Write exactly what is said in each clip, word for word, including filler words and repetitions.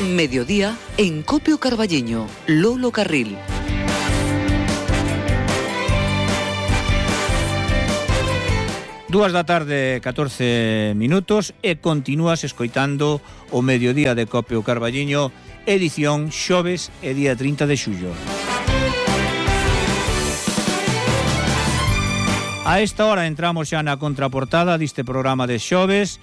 Mediodía en Copio Carballiño, Lolo Carril. Dúas da tarde, catorce minutos, e continúas escoitando o Mediodía de Copio Carballiño, edición xoves e día trinta de xullo. A esta hora entramos xa na contraportada deste programa de xoves,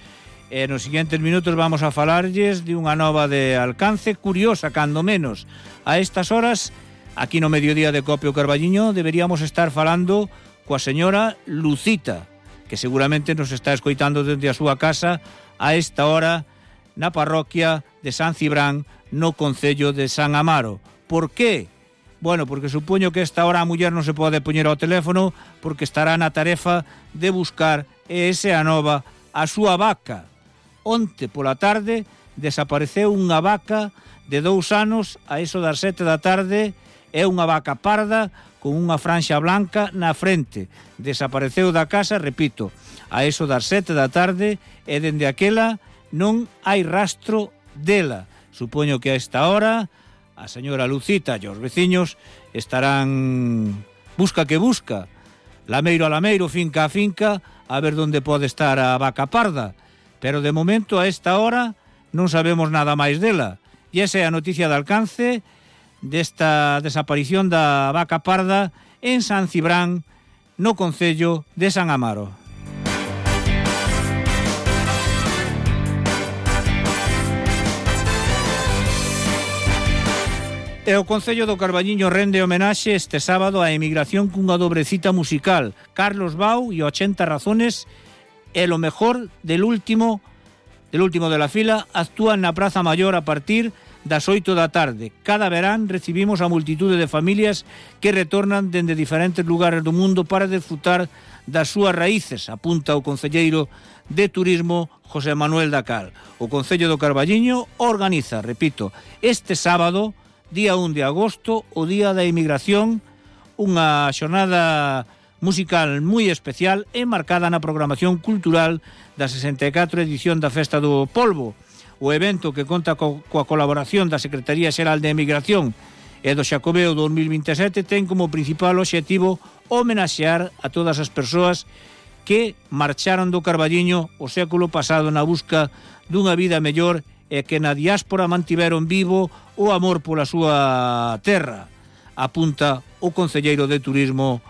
e nos seguintes minutos vamos a falarlles de unha nova de alcance curiosa, cando menos. A estas horas, aquí no Mediodía de Copio Carballiño, deberíamos estar falando coa señora Lucita, que seguramente nos está escoitando desde a súa casa a esta hora na parroquia de San Cibrán, no concello de San Amaro. Por qué? Bueno, porque supoño que esta hora a muller non se pode poñer ao teléfono porque estará na tarefa de buscar, e ese a nova, a súa vaca. Onte pola tarde desapareceu unha vaca de dous anos a eso das sete da tarde, é unha vaca parda con unha franxa blanca na frente. Desapareceu da casa, repito, a eso das sete da tarde, e dende aquela non hai rastro dela. Supoño que a esta hora a señora Lucita e os veciños estarán busca que busca, lameiro a lameiro, finca a finca, a ver onde pode estar a vaca parda. Pero de momento a esta hora non sabemos nada máis dela. E esa é a noticia de alcance desta desaparición da vaca parda en San Cibrán, no concello de San Amaro. E o Concello do Carballiño rende homenaxe este sábado á emigración cunha dobre cita musical. Carlos Bau e ochenta razones e lo mejor del último del último de la fila actúan na Praza Maior a partir das oito da tarde. Cada verán recibimos a multitude de familias que retornan dende diferentes lugares do mundo para desfrutar das súas raíces, apunta o concelleiro de Turismo José Manuel Dacal. O Concello do Carballiño organiza, repito, este sábado, día un de agosto, o Día da Emigración, unha xornada musical moi especial e marcada na programación cultural da sesenta e catro edición da Festa do Polvo. O evento, que conta co, coa colaboración da Secretaría Xeral de Emigración e do Xacobeo dos mil vinte e sete, ten como principal obxectivo homenaxear a todas as persoas que marcharon do Carballiño o século pasado na busca dunha vida mellor e que na diáspora mantiveron vivo o amor pola súa terra, apunta o concelleiro de Turismo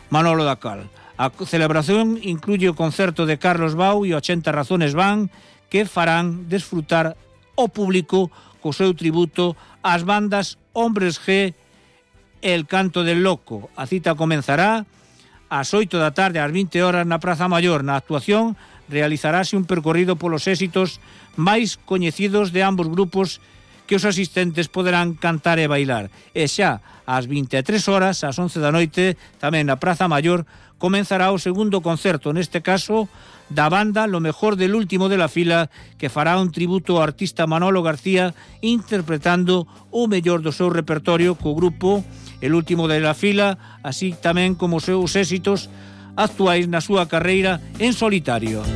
Manolo Dacal. A celebración incluye o concerto de Carlos Bau e ochenta razones van, que farán desfrutar o público co seu tributo ás bandas Hombres G e El Canto del Loco. A cita comenzará ás oito da tarde, ás vinte horas na Praza Maior. Na actuación realizarase un percorrido polos éxitos máis coñecidos de ambos grupos, que os asistentes poderán cantar e bailar. E xa ás vinte e tres horas, ás once da noite, tamén na Praza Maior, comenzará o segundo concerto, neste caso da banda Lo Mejor del Último de la Fila, que fará un tributo ao artista Manolo García interpretando o mellor do seu repertorio co grupo El Último de la Fila, así tamén como os seus éxitos actuais na súa carreira en solitario.